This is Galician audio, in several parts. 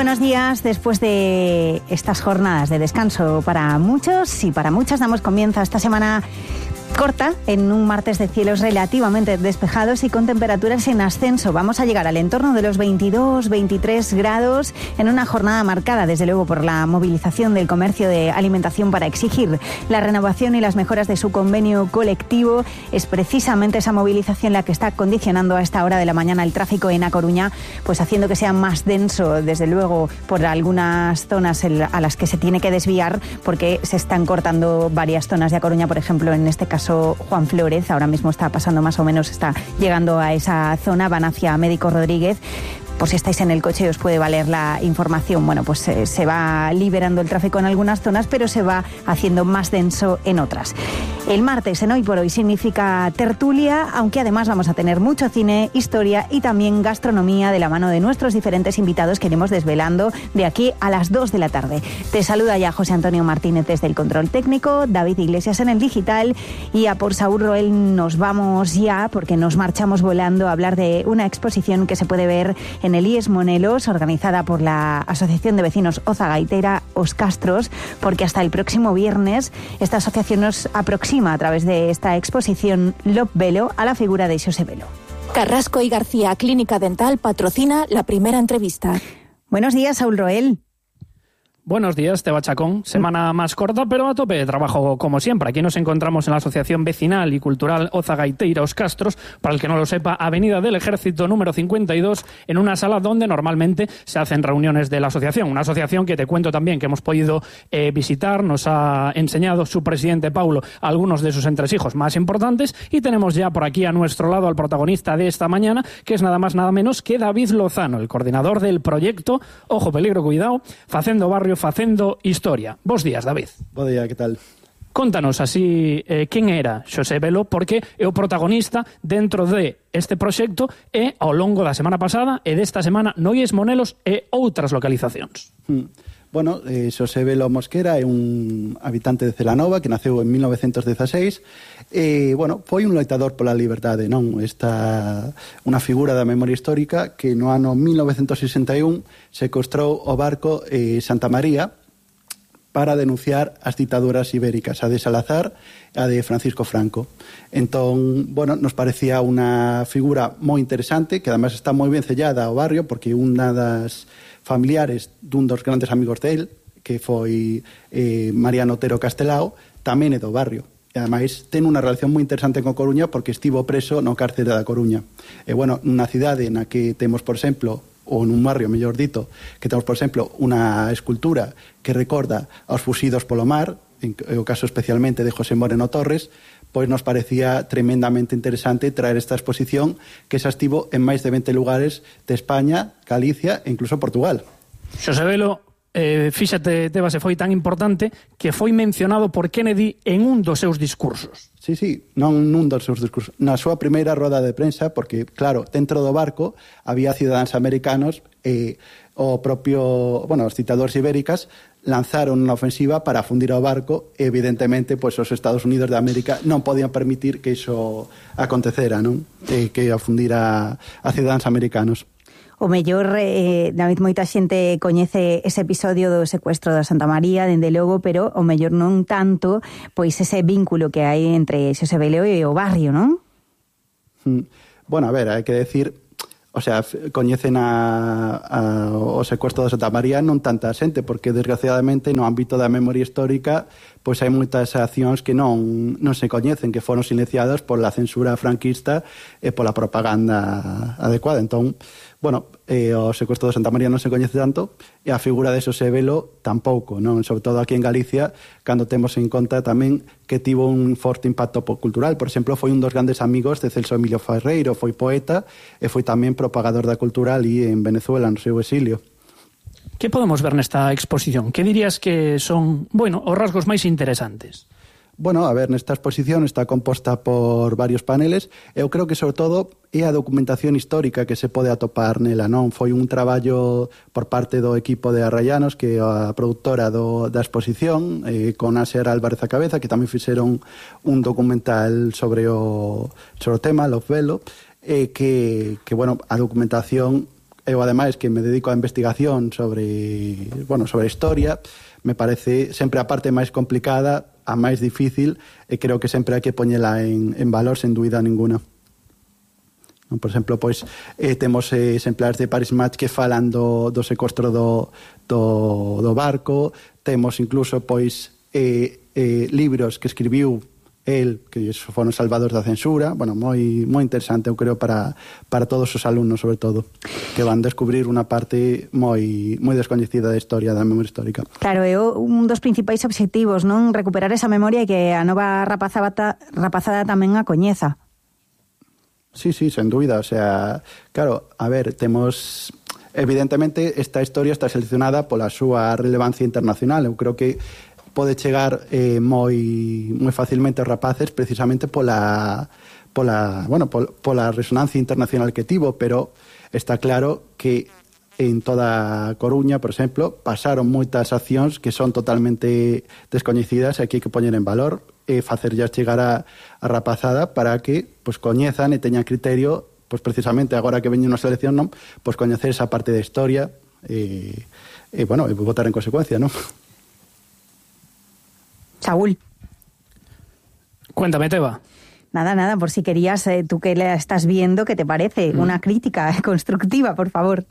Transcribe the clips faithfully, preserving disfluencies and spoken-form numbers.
buenos días. Después de estas jornadas de descanso para muchos y para muchas, damos comienzo a esta semana corta en un martes de cielos relativamente despejados y con temperaturas en ascenso. Vamos a llegar al entorno de los veintidós, veintitrés grados en una jornada marcada, desde luego, por la movilización del comercio de alimentación para exigir la renovación y las mejoras de su convenio colectivo. Es precisamente esa movilización la que está condicionando a esta hora de la mañana el tráfico en A Coruña, pues haciendo que sea más denso, desde luego, por algunas zonas a las que se tiene que desviar, porque se están cortando varias zonas de A Coruña, por ejemplo, en este caso Juan Flórez, ahora mismo está pasando más o menos, está llegando a esa zona, van hacia Médico Rodríguez. Por si estáis en el coche os puede valer la información. Bueno, pues eh, se va liberando el tráfico en algunas zonas, pero se va haciendo más denso en otras. El martes, en Hoy por Hoy, significa tertulia, aunque además vamos a tener mucho cine, historia y también gastronomía de la mano de nuestros diferentes invitados que iremos desvelando de aquí a las dos de la tarde. Te saluda ya José Antonio Martínez desde el control técnico, David Iglesias en el digital, y a por Saúl Roel nos vamos ya, porque nos marchamos volando a hablar de una exposición que se puede ver en el I E S Monelos, organizada por la Asociación de Vecinos Oza Gaitera Os Castros, porque hasta el próximo viernes esta asociación nos aproxima a través de esta exposición Lop Velo a la figura de Xosé Velo. Carrasco y García Clínica Dental patrocina la primera entrevista. Buenos días, Saúl Roel. Buenos días, Teba Chacón. Semana más corta, pero a tope de trabajo como siempre. Aquí nos encontramos en la Asociación Vecinal y Cultural Oza Gaitera Os Castros, para el que no lo sepa, Avenida del Ejército número cincuenta y dos, en una sala donde normalmente se hacen reuniones de la asociación. Una asociación que te cuento también que hemos podido eh, visitar, nos ha enseñado su presidente Paulo algunos de sus entresijos más importantes, y tenemos ya por aquí a nuestro lado al protagonista de esta mañana, que es nada más nada menos que David Lozano, el coordinador del proyecto Ojo, Peligro, Cuidado, Facendo Barrio, Facendo Historia. Bos días, David. Bo día, que tal? Contanos así eh, quen era Xosé Velo, porque é o protagonista dentro de este proxecto e ao longo da semana pasada e desta semana no I E S Monelos e outras localizacións. Hmm. Bueno, eh, Xosé Velo Mosquera é un habitante de Celanova que naceu en mil novecentos dezaseis e, bueno, foi un loitador pola liberdade, non? Esta unha figura da memoria histórica que no ano mil novecentos sesenta e un secuestrou o barco eh, Santa María para denunciar as ditaduras ibéricas, a de Salazar e a de Francisco Franco. Entón, bueno, nos parecía unha figura moi interesante, que además está moi ben sellada ao barrio, porque unha das familiares dun dos grandes amigos del, que foi eh, Mariano Otero Castelao, tamén é do barrio. E ademais ten unha relación moi interesante con Coruña, porque estivo preso no cárcere da Coruña. E, bueno, unha cidade na que temos, por exemplo, ou nun barrio, mellor dito, que temos, por exemplo, unha escultura que recorda aos fuxidos polo mar, en o caso especialmente de José Moreno Torres, pois nos parecía tremendamente interesante traer esta exposición que xa estivo en máis de vinte lugares de España, Galicia e incluso Portugal. Xosé Velo, eh, fíxate, Teba, se foi tan importante que foi mencionado por Kennedy en un dos seus discursos. Sí, sí, non nun dos seus discursos. Na súa primeira roda de prensa, porque, claro, dentro do barco había cidadáns americanos e o propio, bueno, os dictadores ibéricas lanzaron unha ofensiva para afundir ao barco e, evidentemente, pois os Estados Unidos de América non podían permitir que iso acontecera, non? E que afundira a cidadáns americanos. O mellor, eh, David, moita xente coñece ese episodio do secuestro da Santa María, dende logo, pero o mellor non tanto, pois ese vínculo que hai entre Xosé Velo e o barrio, non? Mm. Bueno, a ver, hai que decir, o sea, coñecen a, a, o secuestro da Santa María non tanta xente, porque desgraciadamente no ámbito da memoria histórica pois hai moitas accións que non, non se coñecen, que foron silenciadas pola censura franquista e pola propaganda adecuada. Entón, bueno, eh, o secuestro de Santa María non se coñece tanto e a figura de Xosé Velo tampouco, non? Sobre todo aquí en Galicia, cando temos en conta tamén que tivo un forte impacto cultural. Por exemplo, foi un dos grandes amigos de Celso Emilio Ferreiro, foi poeta e foi tamén propagador da cultura ali en Venezuela, no seu exilio. Que podemos ver nesta exposición? Que dirías que son, bueno, os rasgos máis interesantes? Bueno, a ver, nesta exposición está composta por varios paneles. Eu creo que, sobre todo, é a documentación histórica que se pode atopar nela, non? Foi un traballo por parte do equipo de Arrayanos, que é a produtora do, da exposición, eh, con Aser Álvarez a cabeza, que tamén fixeron un documental sobre o, sobre o tema, Lop Velo, eh, que, que, bueno, a documentación eu ademais que me dedico a investigación sobre, bueno, sobre historia, me parece sempre a parte máis complicada, a máis difícil, e creo que sempre hai que poñela en, en valor sen dúbida ninguna. Por exemplo, pois eh, temos eh, exemplares de Paris Match que falan do, do secuestro do, do, do barco, temos incluso pois eh, eh, libros que escribiu el, que foron salvados da censura, bueno, moi moi interesante, eu creo, para, para todos os alumnos, sobre todo, que van descubrir unha parte moi moi descoñecida da historia, da memoria histórica. Claro, é un dos principais obxectivos, non? Recuperar esa memoria e que a nova rapazada, rapazada tamén a coñeza. Sí, sí, sen dúbida, o sea, claro, a ver, temos... Evidentemente, esta historia está seleccionada pola súa relevancia internacional. Eu creo que pode chegar eh, moi moi facilmente aos rapaces precisamente pola, pola, bueno, pol, pola resonancia internacional que tivo, pero está claro que en toda Coruña, por exemplo, pasaron moitas accións que son totalmente descoñecidas e que hai que poñer en valor e facerllas chegar a, a rapazada para que pues, coñezan e teñan criterio, pues, precisamente agora que veñe unha selección, non, pues, coñecer esa parte de historia e, e bueno, e votar en consecuencia, non? Saúl. Cuéntame, Teba. Nada, nada, por si querías, eh, tú que la estás viendo, ¿qué te parece? Mm. Una crítica constructiva, por favor.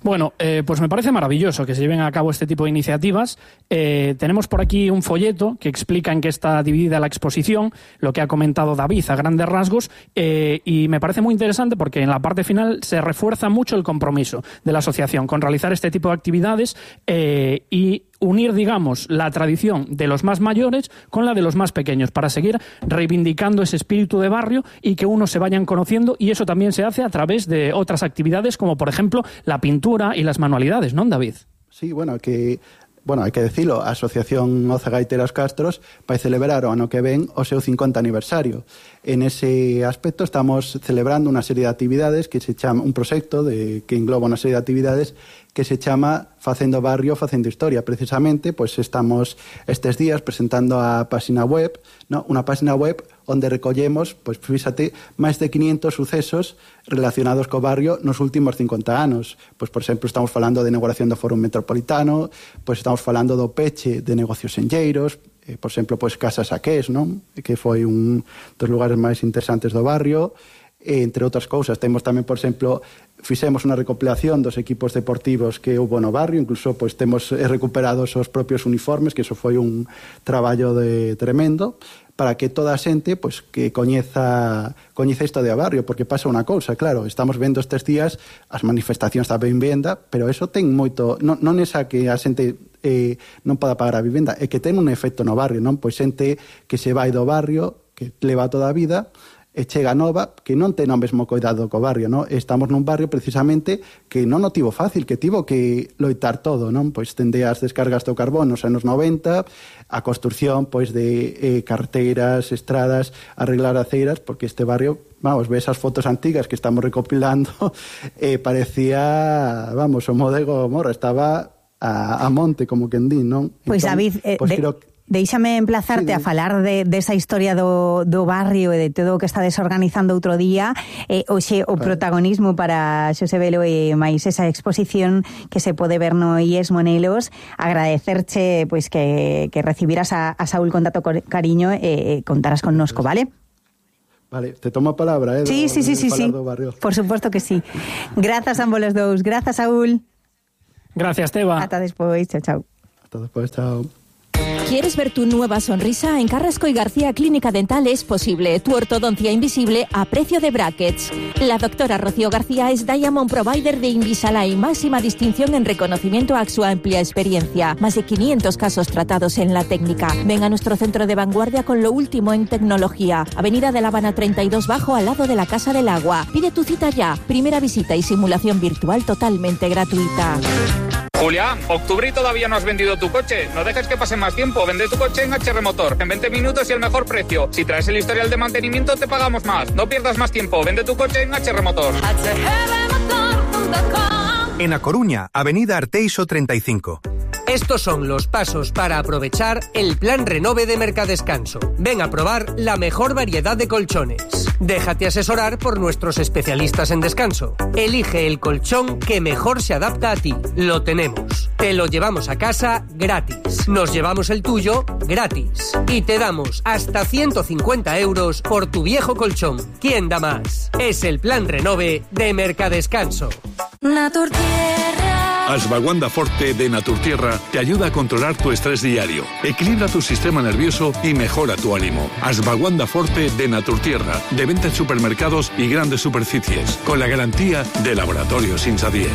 Bueno, eh, pues me parece maravilloso que se lleven a cabo este tipo de iniciativas. Eh, tenemos por aquí un folleto que explica en qué está dividida la exposición, lo que ha comentado David a grandes rasgos, eh, y me parece muy interesante porque en la parte final se refuerza mucho el compromiso de la asociación con realizar este tipo de actividades eh, y unir, digamos, la tradición de los más mayores con la de los más pequeños para seguir reivindicando ese espíritu de barrio y que unos se vayan conociendo, y eso también se hace a través de otras actividades como, por ejemplo, la pintura y las manualidades, ¿no, David? Sí, bueno, que... Bueno, hai que dicilo, a Asociación Oza Gaiteira Os Castros vai celebrar o ano que ven o seu cincuenta aniversario. En ese aspecto estamos celebrando unha serie de actividades que se chama, un proxecto de, que engloba unha serie de actividades que se chama Facendo Barrio, Facendo Historia. Precisamente, pois estamos estes días presentando a página web, no? Unha página web onde recollemos, pois fíxate, máis de quinientos sucesos relacionados co barrio nos últimos cincuenta anos. Pois, por exemplo, estamos falando de inauguración do Fórum Metropolitano, pois estamos falando do peche de negocios enlleiros, eh, por exemplo, pois Casa Saqués, non? Que foi un dos lugares máis interesantes do barrio. Entre outras cousas, temos tamén, por exemplo, fixemos unha recopilación dos equipos deportivos que houve no barrio, incluso pois temos recuperados os propios uniformes, que iso foi un traballo de tremendo, para que toda a xente pois, que coñeza coñeza isto de a barrio, porque pasa unha cousa, claro, estamos vendo estes días as manifestacións da vivenda, pero eso ten moito, non, non esa que a xente eh, non poda pagar a vivenda, é que ten un efecto no barrio, non? Pois xente que se vai do barrio, que leva toda a vida, e chega nova, que non ten o mesmo cuidado co barrio, non? Estamos nun barrio precisamente que non o tivo fácil, que tivo que loitar todo, non? Pois tende as descargas do carbón nos anos noventa, a construción pois de eh, carreteras, estradas, arreglar aceiras, porque este barrio, vamos, ve esas fotos antigas que estamos recopilando, eh, parecía, vamos, o modego morro, estaba a, a monte, como quen di, non? Pois, entón, David, eh, pois de... creo que Deixame emplazarte sí, a falar de, de esa historia do, do barrio e de todo o que está desorganizando outro día. Eh, oxe, o claro. Protagonismo para Xosé Velo e máis esa exposición que se pode ver no I E S Monelos. Agradecerche pois, que, que recibiras a, a Saúl con tanto cariño e eh, contaras connosco, vale? Vale, te tomo a palabra, eh? Sí, do, sí, sí, sí, sí. Por suposto que sí. Grazas a ambos los dous. Grazas, Saúl. Gracias, Teba. Ata despois. Chao, chao. Ata despois, chao. ¿Quieres ver tu nueva sonrisa? En Carrasco y García Clínica Dental es posible. Tu ortodoncia invisible a precio de brackets. La doctora Rocío García es Diamond Provider de Invisalign, máxima distinción en reconocimiento a su amplia experiencia. Más de quinientos casos tratados en la técnica. Ven a nuestro centro de vanguardia con lo último en tecnología. Avenida de La Habana treinta y dos Bajo, al lado de la Casa del Agua. Pide tu cita ya. Primera visita y simulación virtual totalmente gratuita. Julián, octubre y todavía no has vendido tu coche. No dejes que pase más tiempo. Vende tu coche en H R Motor. En veinte minutos y el mejor precio. Si traes el historial de mantenimiento, te pagamos más. No pierdas más tiempo. Vende tu coche en H R Motor. En A Coruña, Avenida Arteixo treinta y cinco. Estos son los pasos para aprovechar el Plan Renove de Mercadescanso. Ven a probar la mejor variedad de colchones. Déjate asesorar por nuestros especialistas en descanso. Elige el colchón que mejor se adapta a ti. Lo tenemos. Te lo llevamos a casa gratis. Nos llevamos el tuyo gratis. Y te damos hasta ciento cincuenta euros por tu viejo colchón. ¿Quién da más? Es el Plan Renove de Mercadescanso. Naturtierra. Ashwagandha Forte de Naturtierra te ayuda a controlar tu estrés diario, equilibra tu sistema nervioso y mejora tu ánimo. Ashwagandha Forte de Naturtierra, de venta en supermercados y grandes superficies, con la garantía de Laboratorios Insadier.